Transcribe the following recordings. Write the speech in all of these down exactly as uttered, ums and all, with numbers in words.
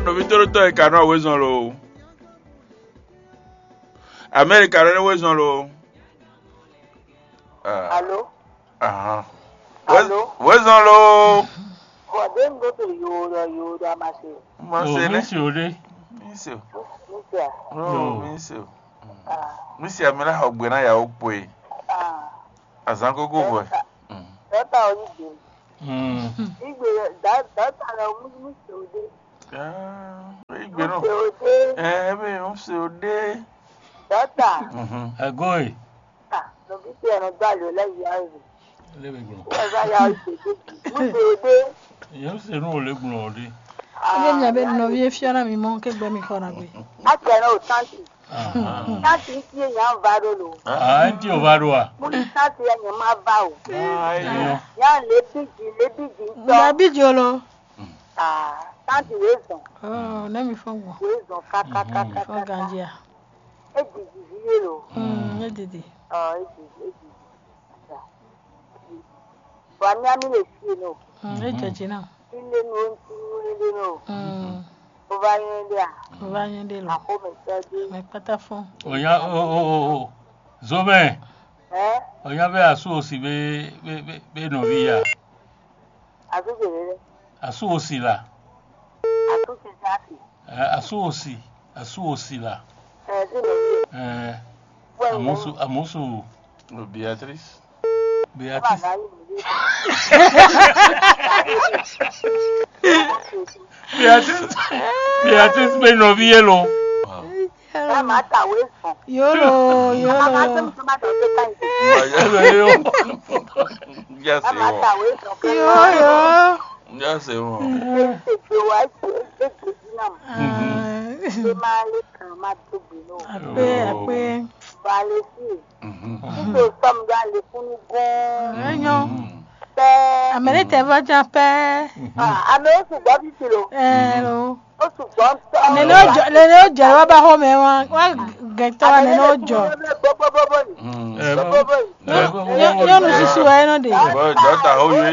Ovi tóɖótɔ́ e ka nɔ wezɔn lo. América ɖɔ ɖé wezɔn lo. Ah. Alo. Ahan. Alo. Wezɔn lo. Bɔ ɖe un ɖo to yo ɖɔ yo ɖɔ amase. Mase ne. Misi o ɖe. Misi o. Misi a. Oh, misi o. Misi a mi la xɔ gbe na yawo kpo e. Ah. Azan kókó vɔ. Dɔta o yi gbe. Igbe dɔta lɛ o misi o ɖe. Igbe nɔ. Misi o ɖe. Ɛ ebe misi o ɖe. Dɔta. Ego e. Ah, nɔvi ce nɔ do ali o lɛ yi ayi. Lebe gbɔn. Ɛ va ya o se de. Misi o ɖe. Yɛn se nu o le gbɔn o ɖe. Ye nya be nɔvi e fiɔ na mi mɔ ke gbɛ mi xɔ na gbe. Atɛ nɔ o tanti. Tanti ti e nya va ɖo lo. Ah, ti o va ɖo a. Mu ni tanti ya nya ma va o. Ayo. Ya le bi ji le bi ji tɔ. Ma bi jo lo. Ah, tanti we zɔn. Oh, ne mi fɔ gbɔn. We zɔn kaka kaka kaka. Fɔ ganji a. E didi vi ye lo. Mm, e didi. Ɔ, e didi, e didi. Wa mi ami le fie no. Mm, e jɛ dzi na. Ile no, ile no. Mm. O va nyɛ de a. O va nyɛ de lo. Ako me sɛ de. Me kpata fɔ. Onya o o o o. Zomɛ. Ɛ? Onya be asu osi be be be be nɔvi ya. Asu ke le. Asu osi la. Asu ke sa ke. Ɛ, asu osi, asu osi la. Ɛ, ti nɔvi. Ɛ, amusu amusu. Beatrice. Beatrice. Beatrice. Beatrice be nɔvi ye lo. Ká máa tàwé sùn. Yólo, yólo. Ká máa tẹ̀mí tó máa tẹ̀lé ká yìí. Ká máa tàwé sùn. Yólo. Ǹjẹ́ ṣe wọ́n? Ṣé ṣe gbé wá ṣe é gbé sí náà? Ṣé máa lè kàn máa tóbi náà? Àpé, àpé. Ba lè sí. Nítorí sọ́mu yá lè fún ní gún. Ẹ̀yàn. Pẹ́. Àmì ní tẹ̀ bá já pẹ́. Àmì ó sì gbọ́ bí ti lò. Ẹ lò. Ó sì gbọ́ tọ́. Nene ó jọ, nene ó jọ wá bá xɔmɛ wá, wá gẹ̀tọ́ wa nene ó jọ. Gbogbogbò yìí. Gbogbogbò yìí. Nyɔnu susu wɛ nɔ de. Dɔta oye.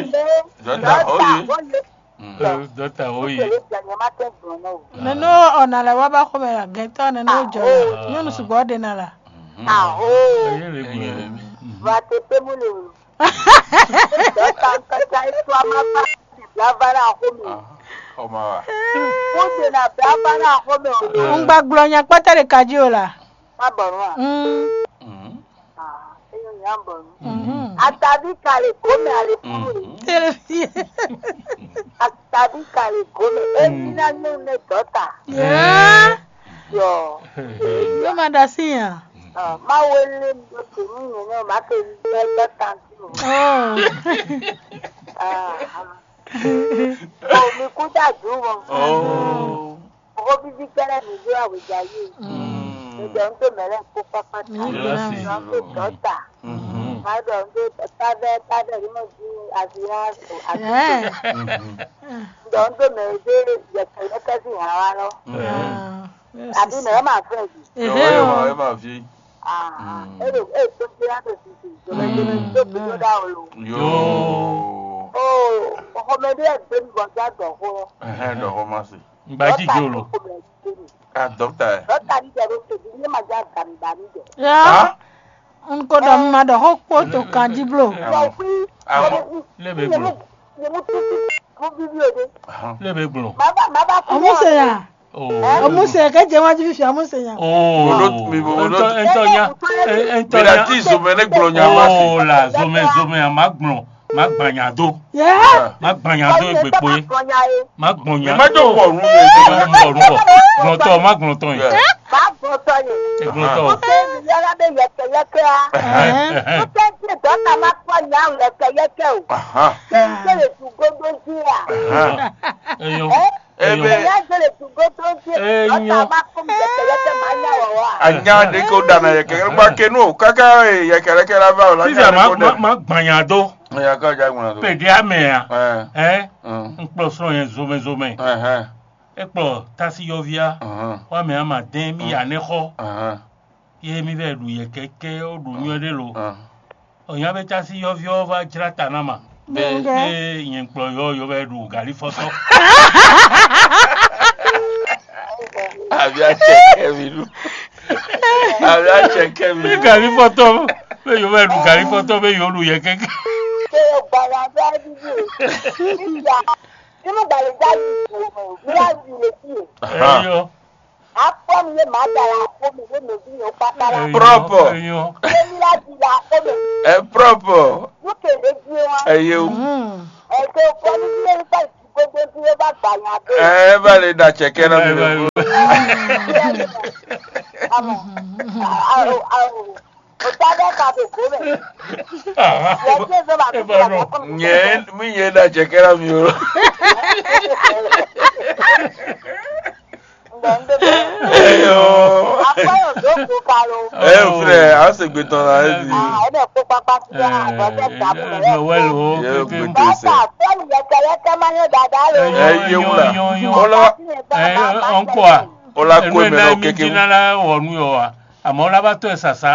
Dɔta oye. Dɔta oye. Nene ɔna lɛ wá bá xɔmɛ gɛtɔ nene ó jɔ la. Nyɔnu sugbɔ de na la. Aho. Vate pe mu le o. Dɔta nkata etu ama ba bla ba na xɔmɛ. Xɔma wa. Mo de na bla ba na xɔmɛ o. N gba gblɔ nya kpɔtɛ de kaji o la. Má bọ̀ nù à. Mm. Ah, eyɔn nya bọ̀ nù. Mhm. Atabi kale gome ale furu. Tele fie. Atabi kale gome. Emi na nyɔnu ne dɔta. Yeah. Yɔ. Yóò máa da sí yàn. Ah, má wo lé mi lókè mí yẹn náà, má ké ní bẹ́ dɔta sí o. Oh. Ah, ah. Oh, mi kú dájú wọn. Oh. Owó bíbí kẹ́lẹ́ mi yóò àwùjá yìí. Ìjọ ń tó mẹ́lẹ̀ kó pápá tà. Ìjọ ń tó dọ́tà. Ìjọ ń tó tábẹ́ tábẹ́ nínú bí àfihàn àti ìjọ ń tó mẹ́lẹ̀ dé yẹ̀kẹ́ yẹ̀kẹ́ sí ìhà wa lọ. Àbí mẹ́rẹ́ máa fẹ́ yìí. Ẹ máa fi. Ẹ lè ẹ tó fi yàtọ̀ sí ti ìjọba ìjọba tó fi tó dá o lò. Yóò. Ó ọkọ mẹ́rin ẹ̀ gbé mi bọ̀ sí àgbọ̀kọ́. Ẹ̀hẹ́n, dɔ̀kọ́ má se. Ngba jíjó lo. A dɔkta ɛ. Dɔkta ni jɛ ɖo todzi ne ma dza gami ba mi jɛ. Ya. N ko ɖɔ un ma ɖɔ xó kpó to kan jí blo. Bɔ fí Amɔ. Lé be gblɔ. Yemu tutu fún bíbí o de. Lé be gblɔ. Màá bá màá bá kú. Ọmú se ya. Oh. Ọmú se kẹ jẹ wájú fífi ọmú se ya. Oh. Bolo mi bolo. Ntɔ ntɔ nya. Ntɔ nya. Bẹ̀rẹ̀ tí ìzòmẹ́ ní gblɔ nya ma se. Oh la zomɛ zomɛ a ma gblɔ. Má gbanya dó. Má gbanya dó egbè kpo é. Má gbanya. Má jọ wọ̀ ọ̀run yẹn. Má gbanya dó. Gbọ̀ntọ̀ má gbọ̀ntọ̀ yẹn. Má gbọ̀ntọ̀ yẹn. Gbọ̀ntọ̀. Ó fẹ́ mi yára bẹ yẹkẹyẹkẹ á. Ó fẹ́ kí dọ́tà má kọ́ ní àwọn yẹkẹyẹkẹ o. Ṣé n gbèrè tún gógó sí à? Eyín. Ebe. Ìyá gbèrè tún gógó sí dọ́tà má kọ́ mi yẹkẹyẹkẹ má yà wọ̀ wá. Anya de ko dana yẹkẹyẹkẹ ba kenu o kaka yẹkẹyẹkẹ la ba o la. Sísè má má gbanya dó. Ẹ̀yà ká ọjà gbọ̀nà tó. Pèdè àmì à. Ẹ. Ẹ. Ń kplɔ sọ̀rọ̀ yẹn zomẹzomẹ. Ẹ̀hẹ́n. É kplɔ tásíyɔ́vía. Ẹ̀hẹ́n. Wá mì àmà dɛn mì yà ní xɔ. Ẹ̀hẹ́n. Yé mì vɛ ɖu yɛ kɛkɛ ó ɖu nyɔ́ ɖé lo. Ẹ̀hẹ́n. Ọ̀nyá bɛ tásíyɔ́vía ɔ́ vá jlá ta ná mà. Bẹ́ẹ̀. Bẹ́ẹ̀. Ée nyɛ kplɔ yɔ yɔ vɛ ɖu galí fɔ́tɔ́. Kɛkɛ mi. Bí gàlí fɔtɔ́, bí yǒ bɛ ɖu gàlí fɔtɔ́, bí yǒ ɖu yɛ kɛkɛ. Ṣé o gbàgbà bí a bí bí o? Nígbà nínú gbàlejò yìí kò mọ̀ bí a bí lè bí o. Ẹyọ. Akpɔ mi ye màá da la akpɔ mi ye mèbí yẹn kpákpá la. Propre. Ẹyọ. Ye mi la di la akpɔ mi. Ẹ propre. Lókè lè di wa. Ẹ yé o. Ẹ tó kọ́ ní bí yẹn bá ìdúgbò dé bí yẹn bá gbà yàn dé. Ẹ bá lè dà cẹ̀kẹ́ náà mi lè kú. Àmọ́ àwọn àwọn. Òtá bẹ́ẹ̀ ka tó kó bẹ̀. Yẹ kí èso máa tó kó bẹ̀. Nyɛ mi yɛ da cɛ kɛra mi o. Ǹdẹ̀ ń dé bọ̀. Eyo. Akpẹ́yọ̀ tó kó ka lo. Ẹ n filɛ, a se gbe tɔn la ẹ di. Ẹ bẹ̀ kó pápá sí àgọ́jẹ́ ìdààmú rẹ̀. Yẹ o gbe tó sẹ. Bàtà fẹ́ẹ̀lì yẹkẹyẹkẹ máa ń yọ dáadáa lo. Ẹ yé wúlà. Kó lọ. Ẹ ọ̀nkọ́ à. Kó la kó Ẹnu ẹ̀ mẹ náà lọ mi kékeré. Jí náà wọ̀ nú yọ wa. Àmọ́ ó lá bá tɔ́ ɛ sàsá.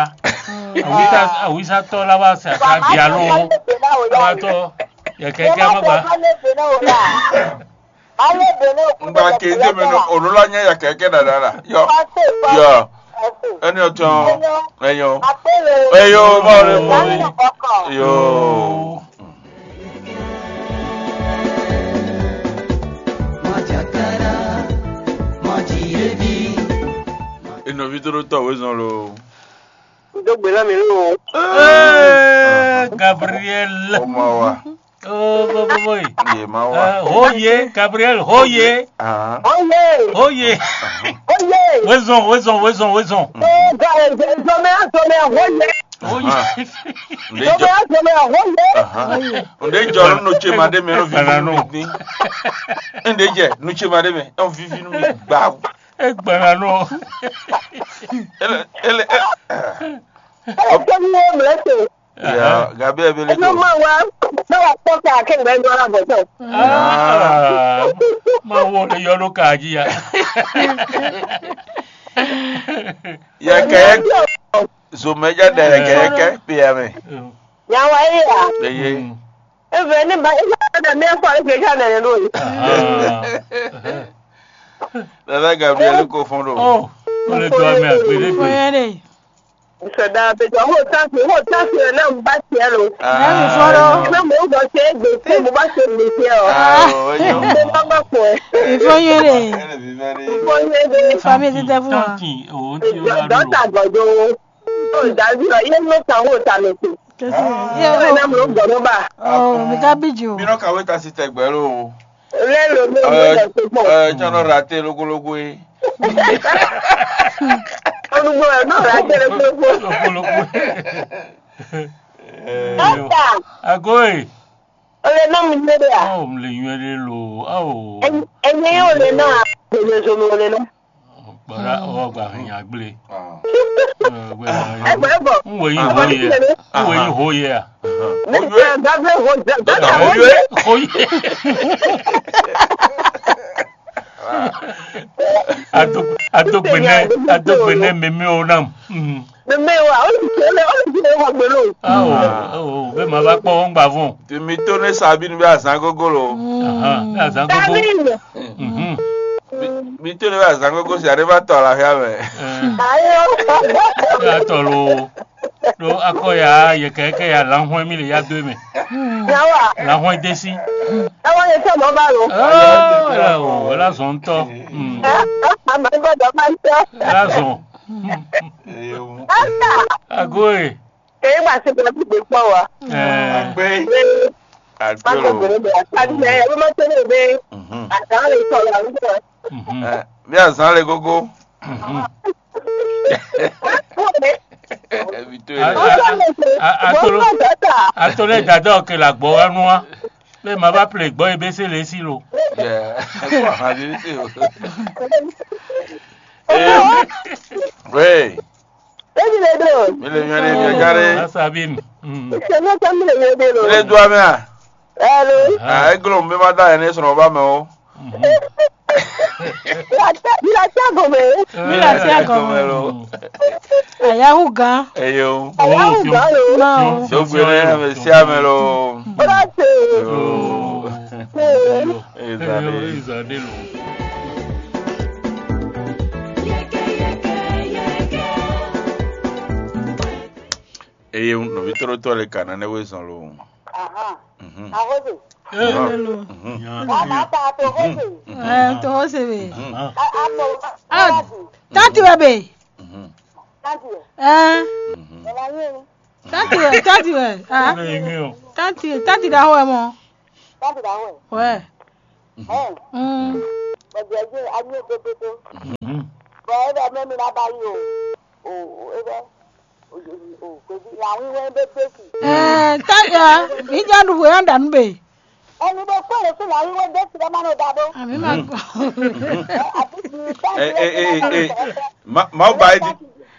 Àwísá- àwísátɔ́ lá bá sàsá dialo. Lá bá tɔ́ yɛ kɛkɛ má ba. Ngba ke dé mɛ nɔ ònú la nyɛ yɛ kɛkɛ dada la. Yɔ. Yɔ. Ɛni ɔtɔn. Ɛyɔ. Ɛyɔ báwo ni mo. Yɔ. Enɔvi tó ɖó tɔ wezɔn lo. Dó gbe ná mi nú o. Ee, Gabriel. Ó ma wa. Oh, boy, boy, boy. Yé ma wa. Hoye, Gabriel, hoye. Ah. Hoye. Hoye. Hoye. Wezɔn, wezɔn, wezɔn, wezɔn. Ee, ga eze zɔmɛ zɔmɛ hoye. Hoye. Zɔmɛ zɔmɛ hoye. Nde jɔ nu ce ma ɖe mɛ nɔ vivi nu mi dín. Nde jɛ nu ce ma ɖe mɛ nɔ vivi nu mi gba. Egbe na nɔ. Ele ele. Ɔtɔn wo mlɛ te. Ya gabi ebe le ko. Ɛnɔ ma wa, ma wa kpɔ ka ke ŋgbɛ dɔ la bɔtɔ. Ah, ma wo le yɔ ɖo ka dzi ya. Yɛ kɛ yɛ zomɛ ja da yɛ kɛ yɛ kɛ pe ya mɛ. Ya wa ye ya. Eye. Eve ne ba ina da mi afɔ ale ke ka nɛ ɖo yi. Dada Gabriel ko fɔn ɖo. Oh, o le do ame agbe ɖe gbe. Sɔda bɛ jɔ ho tansi ho tansi na n ba tiɛ lo. Ɛmi fɔlɔ. Na mo bɔ se gbe se mo ba se gbe se o. Ah, o yo. Mo ba ba ko. Ifo yere. Ifo yere. Famille ti tɛ fún wa. Tanki o ti o la do. Dɔta gɔdo. O davi lɔ ye mo kan ho ta mi se. Kesi. Ye na mo gɔdo ba. Oh, mi ka bi jo. Mi nɔ kawe ta si tɛgbɛ lo. Lé lo mi ò mú ẹ̀ tó pọ̀. Ẹ jọ nọ ra tẹ lógólógó yìí. Olùgbò ẹ̀ náà ra tẹ lógólógó. Lógólógó. Dókítà. Agoe. O lè ná mi lé de à? Oh, mi lè yún ẹ lé lo. Oh. Ẹyin yóò lè ná. Gbèlè zomi o lè ná. Bọ̀dá ọwọ́ gba hẹn yàn gblé. Ẹgbẹ́ bọ̀. N wò yín hó yẹ. N wò yín hó yẹ à. Nígbà gbàgbé hó jẹ gbàgbé hó yẹ. Hó yẹ. Adogbene adogbene meme o nam. Meme wa o ti tẹlẹ o ti tẹlẹ wa gbelo. Awo awo bẹ́ẹ̀ ma bá pọ̀ wọ́n gbà fún. Tèmi tó ní sábì ní bí àzán gógó lo. Bí àzán gógó. Mi tó ne bá zan kókó si àdé bá tɔ la xyá mɛ. Atɔ lo ɖo akɔ ya yɛkɛkɛ ya lanhwɛ mi le ya do mɛ. Yawa. Lanhwɛ desi. Ẹwọ́n yẹn tẹ̀ mọ́ bá lò. Ẹ̀la o ẹ̀la zɔn tɔ. Àmọ́ ní bọ́dọ̀ máa ń tọ́. Ẹ̀la zɔn. Ẹ̀la. Agoe. Èyí máa ṣe bí wọ́n ti gbé pọ̀ wá. Àgbẹ̀. Àgbẹ̀ o. Àgbẹ̀ o. Àgbẹ̀ o. Àgbẹ̀ o. Àgbẹ̀ o. Bí azán le gógó. Atole dada ọkẹ la gbɔ wa nua. Lè má bá plè gbɔ ebe se lè si lo. Wéè. Ebi le do. Mi le nyɔ ɖe mi ga ɖe. Asa bi mi. Sɛnɛ tɛ mi le nyɔ ɖe lo. Mi le do amɛ a? Hello. Ah, e glo mi ma da ene sɔrɔ ba mɛ o. Mi la tɛ gome. Mi la tɛ gome lo. Ayahu gan. Eyo. Ayahu gan lo. Ma o. So gbere ame si ame lo. Ora se. Ezade lo. Eye nɔví tlóló tɔn lɛ ka ná nɛ́ wezɔn lo. Ahan. Mhm. Ahoze. Hello. Mhm. Nya. Wa ma ta to hoze. Mhm. Eh, to hoze we. Mhm. A a to. Ah, tanti we be. Mhm. Tanti we. Eh. Mhm. Ela yín. Tanti we, tanti we. Ah. Ebe yín o. Tanti, tanti da ho mo. Tanti da ho. We. Mhm. Eh. Mm. Bɔdɛ je a yín o pépépé. Mhm. Bɔ e bɛ mɛ mi na ba yi o. O o e bɛ. O o o ko di la wi wɛ be be ki. Eh, ta ya, mi ja du we anda nu be. Ẹni bó kó lè fún ìyàwó wọ́n dé sílẹ̀ máa ń dá bó. Àmì máa gbọ́. Àbí ti Ẹ ẹ ẹ ẹ. Má má ba ẹ di.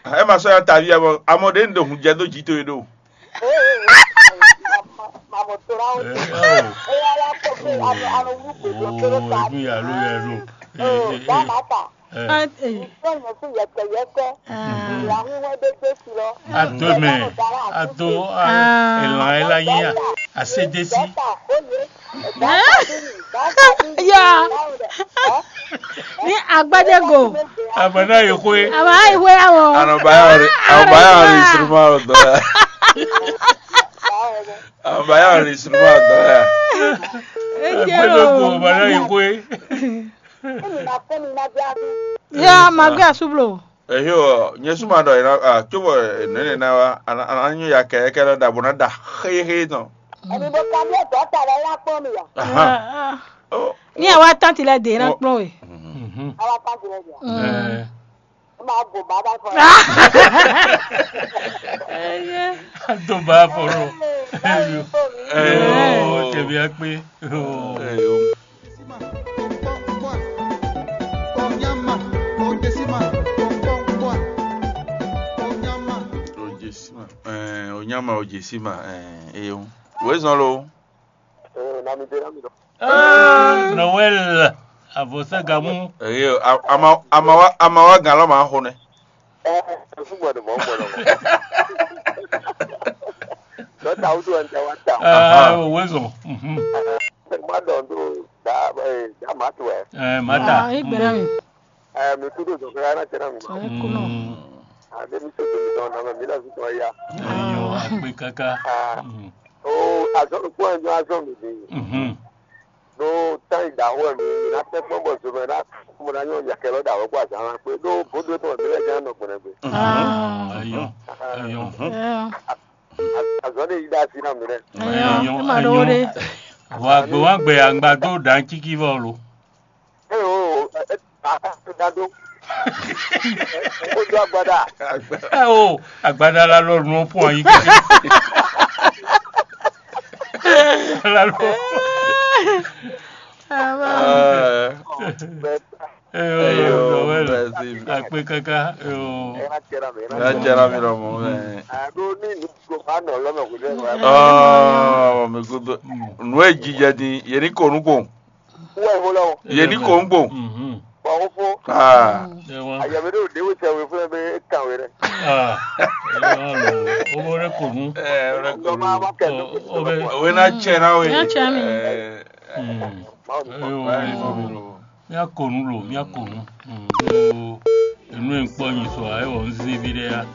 Ẹ máa sọ ya tàbí ẹ mọ. Àmọ́ de ń dògùn jẹ tó jí tó yẹ dó. Màmú tó ra ó. Ẹ ó. Ó yà yà kó fún àwọn àwọn olùkọ́ tó tó ta. Ojú ìyá ló yẹ lò. Ó bá máa tà. Ẹ. Ìfẹ́ yẹn fún yẹ̀kẹ̀yẹ̀kẹ́. Ìyàwó wọ́n dé dé sílẹ̀. Ato mɛ, ato a, elan ela nyi a, asedesi. Ya. Ní agbádé go. Abana yi xwe. Àmọ́ àìwé àwọ̀. Anɔbaya ɔri, anɔbaya ɔri sinuma ɔdɔ ya. Anɔbaya ɔri sinuma ɔdɔ ya. Agbádé go, abana yi xwe. Ya, ma gbé asublo. Ehe ɔ, nyɛ suma ɖɔ yina a tso bɔ nɛnɛ na wa, ana ana nyu ya kɛ kɛ lɔ da bo na da xexe tɔn. Èmi mo ka bí ẹ̀tọ́ ta lọ yá kpọ́n mi yá. Aha. Oh. Ní àwa tánti lẹ dè ná kplɔ́n we. Mhm. Àwa tánti lẹ dè. Mm. Ẹ. Ó máa bò bá bá fọ. Ẹ yẹ. Tó bá fọ̀rọ̀. Báwo ni fóònù? Ẹ. Yóò tẹ̀mí á pé. Yóò. Ẹ yóò. Onyama, Ojesima, Onyama. Ojesima, eh, Onyama Ojesima, eh, eyo. Wezɔn lo. Eh, na mi de na mi dɔ. Ah, Noël, avɔsagamu. Eyo, a- ama amawa amawa gan lɔ ma xo nɛ. Eh, eh, fún gbɔdọ̀ mọ́ gbɔdọ̀ mọ́. Dɔta wudu ɛn tɛ wa ta. Ah, wezɔn. Mhm. Ma dɔn do da eh, da ma tu ɛ. Eh, mata. Ah, igbera mi. Eh, mi kudo dɔn kɛ na tɛ na mi. Sɔrɔ kuno. Mm. A de mi so de mi dɔn na mi la su tɔ ya. Ayo, akpe kaka. Ah. Mm. O azɔ ko en azɔ mi de. Mhm. No tan da ho mi na tɛ kpɔn bɔ so mɛ na mo na nyɔ yakɛ lɔ da ho ko azan na pe do bodo to mi le ja no gbɛnɛ gbe. Ah. Ayo. Ayo. Eh. Azɔ de yi da si na mi lɛ. Ayo, Ayo, e ma ɖo wo ɖe. Vɔ agbe wa gbe angba do dan kiki vɔ lo. Eo, e a ka da do. O do agbada. Eo, agbada la lɔ nu pɔn yi keke. La lɔ. Ah. Eo, Eyo, Noël. Merci. Akpe kaka. Eo. Ena cɛra mi. Na jara mi lɔ mɔ mɛ. A do ni nu ko ba nɔ lɔ mɛ ko de. Oh, mi kudo. Nu e jijɛ din, ye ni ko nu ko. Wɛ ho lɔ. Ye ni ko nu ko. Mhm. Ba ho fo. Ah. Ewa. Aya mi do de wo tɛ we fún mi kan we rɛ. Ah. Ewa lo. O bo re ko nu. Eh, o re ko nu. O be. O we na cɛra we. Na cɛra mi. Eh. Mm. Eyo. Eyo. Míakɔ nu lo, míakɔ nu. Mm, ɖó enu e un kpɔ́ nyi sɔ ǎ, é wɔ un zé vi ɖé á.